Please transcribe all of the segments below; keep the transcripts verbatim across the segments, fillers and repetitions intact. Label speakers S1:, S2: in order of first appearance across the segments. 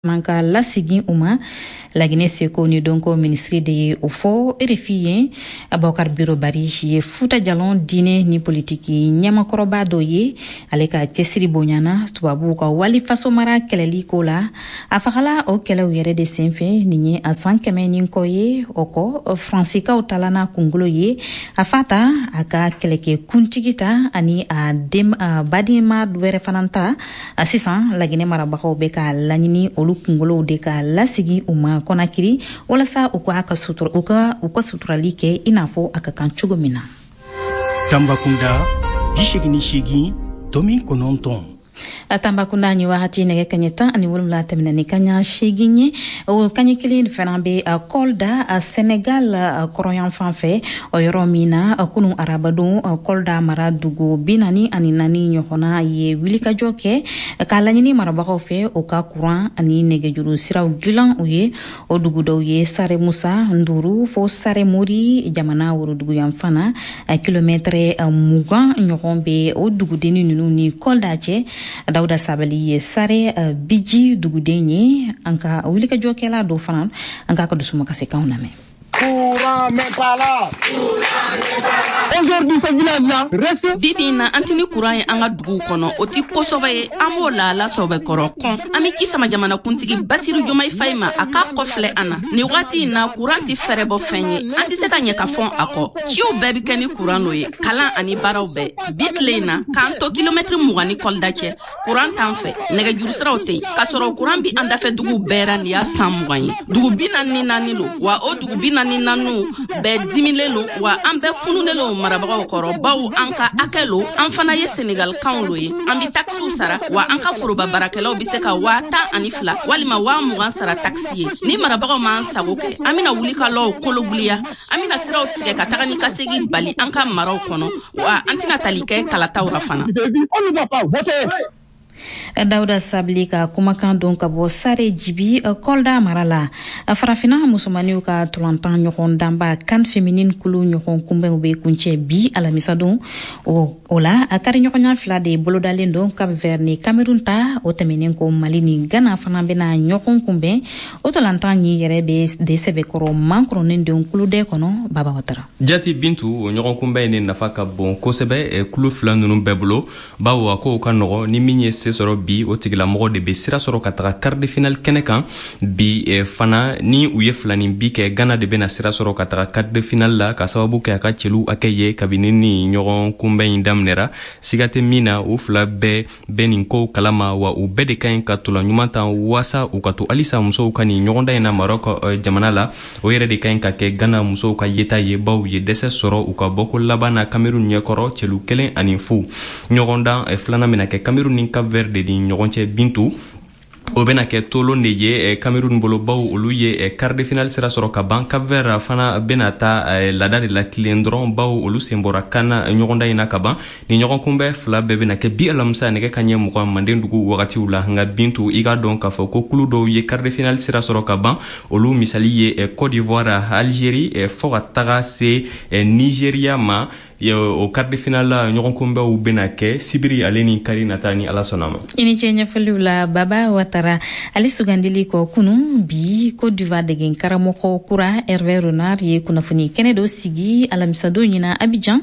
S1: Man ka lasegin u ma. Laginɛ seko ni dɔnko minisiri de ye o fɔ R F I ye. Abubakar Biro Bari ye Futa Jalɔn diinɛ ni politiki ɲɛmakɔrɔba dɔ ye. Ale ka cɛsiri bonyana tubabuw ka wali fasomara kɛlɛli ko la. A fagala o kɛlɛw yɛrɛ de senfɛ. Nin ye a san kɛmɛ ni kɔ ye. O kɔ, Faransikaw talana kunkolo ye, a fa ta, a ka kɛlɛkɛ kuntigi ta ani a den a badenma wɛrɛ fana ta. Sisan, Laginɛ marabagaw bɛ ka laɲini olu kunkolow de ka lasigi u ma Kɔnakiri, walasa u ka ka sutura, u ka u ka suturali kɛ i n'a fɔ a ka kan cogo min na.
S2: Tambakunda, bi segin ni seegin tomi kɔnɔntɔn.
S1: Tambakunda, ni wagati nɛgɛ kaɲɛ tan ani wolonwula tɛmɛna ni kaɲa seegin ye. O kaɲɛ kelen fana bɛ Kolda, Senegal kɔrɔyan fan fɛ, o yɔrɔ min na kunu arabadon, Kolda mara dugu bi naani ani naani ɲɔgɔnna ye wulikajɔ kɛ k'a laɲini marabagaw fɛ o ka kuran ani nɛgɛjuru siraw dilan u ye. O dugu dɔw ye Sare Musa Nduru fo Sare Mori, jamana woroduguyanfan na. Kilomɛtɛrɛ mugan ɲɔgɔn bɛ o dugudenni ninnu ni Kolda cɛ. Dawuda Sabali ye Sare Biji duguden ye. An ka wulikajɔkɛla dɔ fana, an k'a ka dusumakasikanw lamɛn.
S3: Courant n'est pas là. Aujourd'hui, ce village-là reste.
S4: Bi bi in na, an tɛ ni kuran ye an ka duguw kɔnɔ. O ti kosɔbɛ ye, an b'o lahala sɔbɛkɔrɔ kɔn. An be ci sama jamanakuntigi Basiru Jomayi Fayi ma, a k'a kɔfilɛ an na nin wagati in na. Kuran tɛ fɛrɛ bɔ fɛn ye, an tɛ se ka ɲɛ ka fɔn a kɔ. Ciw bɛɛ bi kɛ ni kuran n'o ye, kalan ani baaraw bɛɛ. Bi tile in na, k'an to kilomɛtiri mugan ni Kɔlida cɛ, kuran t'an fɛ, nɛgɛjuru siraw tɛ yen, k'a sɔrɔ kuran bi an dafɛ duguw bɛɛ ra. Nin y'a san mugan ye. Dugu bi naani ni naani lo wa, o dugu bi naani ni naaniw bɛɛ dimilen lo wa, an bɛɛ fununen lo marabagaw kɔrɔ, bawo an ka hakɛ lo. An fana ye Senegalkanw lo ye, an bi takisiw sara wa. An ka foroba baarakɛlaw be se ka waa tan ani fila walima waa mugan sara takisi ye. Ni marabagaw m'an sago kɛ, an bena wuli ka lɔw kologuliya, an bena siraw tigɛ ka taga ni ka segi bali an ka maraw kɔnɔ wa, an tɛna tali kɛ kalataw ra fana.
S3: On ne va pas voter.
S1: Dawuda Sabili ka kumakan don ka bɔ Sare Jibi, Kɔlda mara la. Farafina musomaniw ka tolantan ɲɔgɔn danba CAN féminine kulu ɲɔgɔn kunbɛnw bɛ kuncɛ bi alamisadon. o, o la, a kari ɲɔgɔnya fila de bolodalen don, Cap Vert ni Cameroun ta. O tɛmɛnen ko, Mali ni Ghana fana bɛna ɲɔgɔn kunbɛn. O tolantan ɲi yɛrɛ bɛ de sɛbɛkɔrɔ mankɔrɔnen don kuludɛ kɔnɔ. Baba Watara.
S5: Jati Bintu, o ɲɔgɔn kunbɛn ni nafa ka bon kosɛbɛ kulu fila ninnu bɛɛ bolo, bawo a kow ka nɔgɔ. Ni min ye se sɔrɔ bi, o tigilamɔgɔ de be sira sɔrɔ ka taga quart de finale kɛnɛ kan. Bi eh, fana, ni u ye filani bi kɛ, Gana de bena sira sɔrɔ ka taga quart de finale la, ka sababu kɛ a ka cɛlu hakɛ ye kabini ni ɲɔgɔn kunbɛn in daminɛra. Siga tɛ min na, u fila bɛɛ bɛ nin kow kalama wa, u bɛɛ de ka ɲi ka tola ɲuman tan waasa u ka to halisa musow ka nin ɲɔgɔndan in na Marɔk eh, jamana la. O yɛrɛ de ka ɲi ka kɛ Gana musow ka yeta ye, baw ye dɛsɛ sɔrɔ u ka bɔko laban na Kamerun ɲɛkɔrɔ cɛlu kelen ani fu. Ɲɔgɔndan eh, filanan bena kɛ Kamerun ni Cap Vert de ni ɲɔgɔn cɛ. Bintu, o bena kɛ tolon de ye Cameroun bolo, baw olu ye quart de finale sira sɔrɔ ka ban. Cap Vert fana bena ta laada de la tilen dɔrɔn, baw olu sen bɔra CAN ɲɔgɔndan in na ka ban. Ni ɲɔgɔn kunbɛn fila bɛɛ bena kɛ bi alamisa nɛgɛ ka ɲɛ mugan manden dugu wagatiw la. Nka Bintu, i k'a dɔn k'a fɔ ko kulu dɔw ye quart de finale sira sɔrɔ ka ban. Olu misali ye Côte d'Ivoire, Algérie, fɔɔ ka taga se Nigeria ma. O quart de finale ɲɔgɔn kunbɛnw bena kɛ sibiri ale ni kari nata, ni Ala sɔnna ma.
S1: I ni ce ɲɛfɔliw la, Baba Watara. Ale sugandili kɔ kunu, bi Côte d'Ivoire degen karamɔgɔ kura Hervé Renard ye kunnafoni kɛnɛ dɔ sigi alamisadon ɲina Abidjan.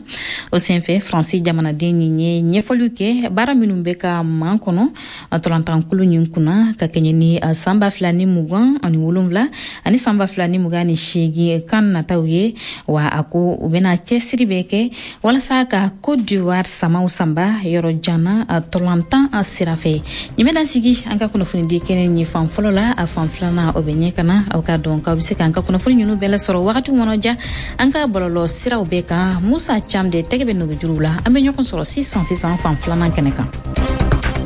S1: O senfɛ, Faransi jamanaden nin ye ɲɛfɔliw kɛ baara minnu bɛ ka man kɔnɔ tolantankulu nin kunna ka kɛɲɛ ni san ba fila ni mugan ani wolonwula ani san ba fila ni mugan ni seegin CAN nataw ye wa. A ko u bɛna cɛsiri bɛ kɛ walasa ka Côte d'Ivoire samaw sanba yɔrɔ janna tolantan sira fɛ. Nin bɛna sigi an ka kunnafonidi kɛnɛ nin fan fɔlɔ la. A fan filanan, o bɛ ɲɛ ka na. Aw ka dɔn k'aw bɛ se k'an ka kunnafoni ninnu bɛɛ lasɔrɔ wagati kɔnɔ ja an ka bɔlɔlɔ siraw bɛɛ kan. Musa Cam de tɛgɛ bɛ nɛgɛjuruw la. An bɛ ɲɔgɔn sɔrɔ sisan sisan fan filanan kɛnɛ kan.